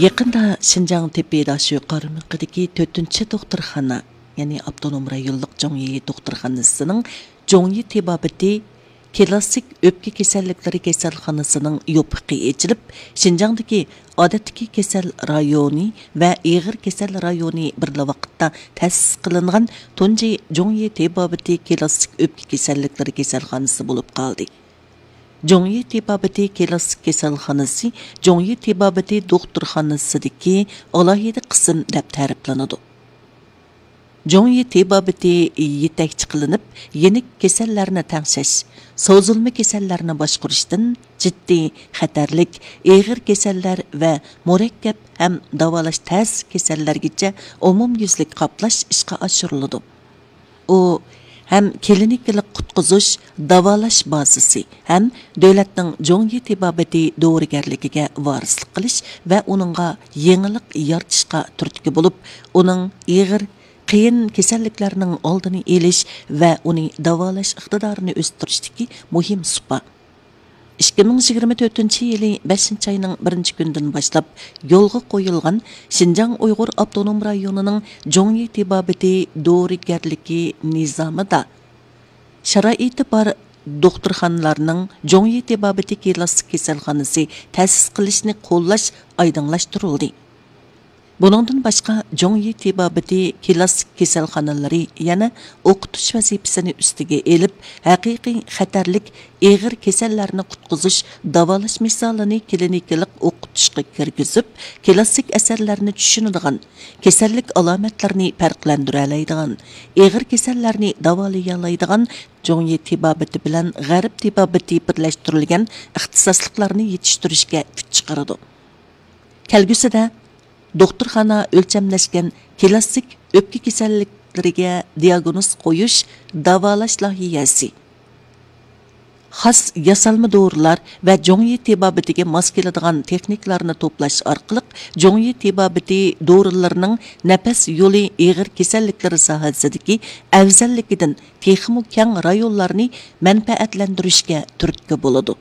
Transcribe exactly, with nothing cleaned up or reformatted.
يېقىندا شىنجاڭ تېببىي داشۆ قارمىقىدىكى تۆتىنچى دوختۇرخانا، يەنى ئاپتونوم رايونلۇق جۇڭيى دوختۇرخانىسىنىڭ جۇڭيى تېبابىتى كلاسسىك ئۆپكە كېسەللىكلىرى كېسەلخانىسىنىڭ يوپۇقى ئېچىلىپ، شىنجاڭدىكى ئادەتتىكى كېسەل رايونى ۋە ئېغىر كېسەل رايونى بىرلا ۋاقىتتا تەسىس قىلىنغان تۇنجى جۇڭيى تېبابىتى كلاسسىك ئۆپكە كېسەللىكلىرى كېسەلخانىسى بولۇپ قالدى. جۇڭيى تېبابىتى كلاسسىك كېسەلخانىسى جۇڭيى تېبابىتى دوختۇرخانىسىدىكى ئالاھىدە قىسىم دەپ تەرىپلىنىدۇ. جۇڭيى تېبابىتى يېتەكچى قىلىنىپ، يېنىك كېسەللەرنى تەڭشەش، سوزۇلما كېسەللەرنى باشقۇرۇشتىن جىددىي خەتەرلىك ئېغىر كېسەللەر ۋە مۇرەككەپ ھەم داۋالاش تەس كېسەللەرگىچە ئومۇميۈزلۈك قاپلاش ئىشقا ئاشۇرۇلىدۇ. ئۇ ھەم كلىنىكىلىق قۇتقۇزۇش، داۋالاش بازىسى ھەم دۆلەتنىڭ جۇڭيى تېبابىتى دورىگەرلىكىگە ۋارىسلىق قىلىش ۋە ئۇنىڭغا يېڭىلىق يارىتىشقا تۈرتكە بولۇپ، ئۇنىڭ ئېغىر، قىيىن كېسەللىكلەرنىڭ ئالدىنى ئېلىش ۋە ئۇنى داۋالاش ئىقتىدارىنى ئۆستۈرۈشتىكى مۇھىم سۇپا. ئىككى مىڭ يىگىرمە تۆتىنچى يىلى بەشىنچى ئاينىڭ بىرىنچى كۈنىدىن باشلاپ يولغا قويۇلغان شىنجاڭ ئۇيغۇر ئاپتونوم رايونىنىڭ جۇڭيى تېبابىتى دورىگەرلىكى نىزامىدا شارائىتى بار دوختۇرخانىلارنىڭ جۇڭيى تېبابىتى كلاسسىك كېسەلخانىسى تەسىس قىلىشنى قوللاش ئايدىڭلاشتۇرۇلدى. بۇنىڭدىن باشقا، جۇڭيى تېبابىتى كلاسسىك كېسەلخانىلىرى يەنە ئوقۇتۇش ۋەزىپىسىنى ئۈستىگە ئېلىپ، ھەقىقىي خەتەرلىك ئېغىر كېسەللەرنى قۇتقۇزۇش، داۋالاش مىسالىنى كلىنىكىلىق ئوقۇتۇشقا كىرگۈزۈپ، كلاسسىك ئەسەرلەرنى چۈشىنىدىغان، كېسەللىك ئالامەتلىرىنى پەرقلەندۈرەلەيدىغان، ئېغىر كېسەللەرنى داۋالىيالايدىغان جۇڭيى تېبابىتى بىلەن غەرب تېبابىتى بىرلەشتۈرۈلگەن ئىختىساسلىقلارنى يېتىشتۈرۈشكە كۈچ چىقىرىدۇ. كەلگۈسىدە دوختۇرخانا ئۆلچەملەشكەن كلاسسىك ئۆپكە كېسەللىكلىرىگە دىياگنوز قويۇش، داۋالاش لايىھەسى، خاس ياسالما دورىلار ۋە جۇڭيى تېبابىتىگە ماس كېلىدىغان تېخنىكىلارنى توپلاش ئارقىلىق، جۇڭيى تېبابىتى دورىلىرىنىڭ نەپەس يولى ئېغىر كېسەللىكلىرى ساھەسىدىكى ئەۋزەللىكىدىن تېخىمۇ كەڭ رايونلارنى مەنپەئەتلەندۈرۈشكە تۈرتكە بولىدۇ.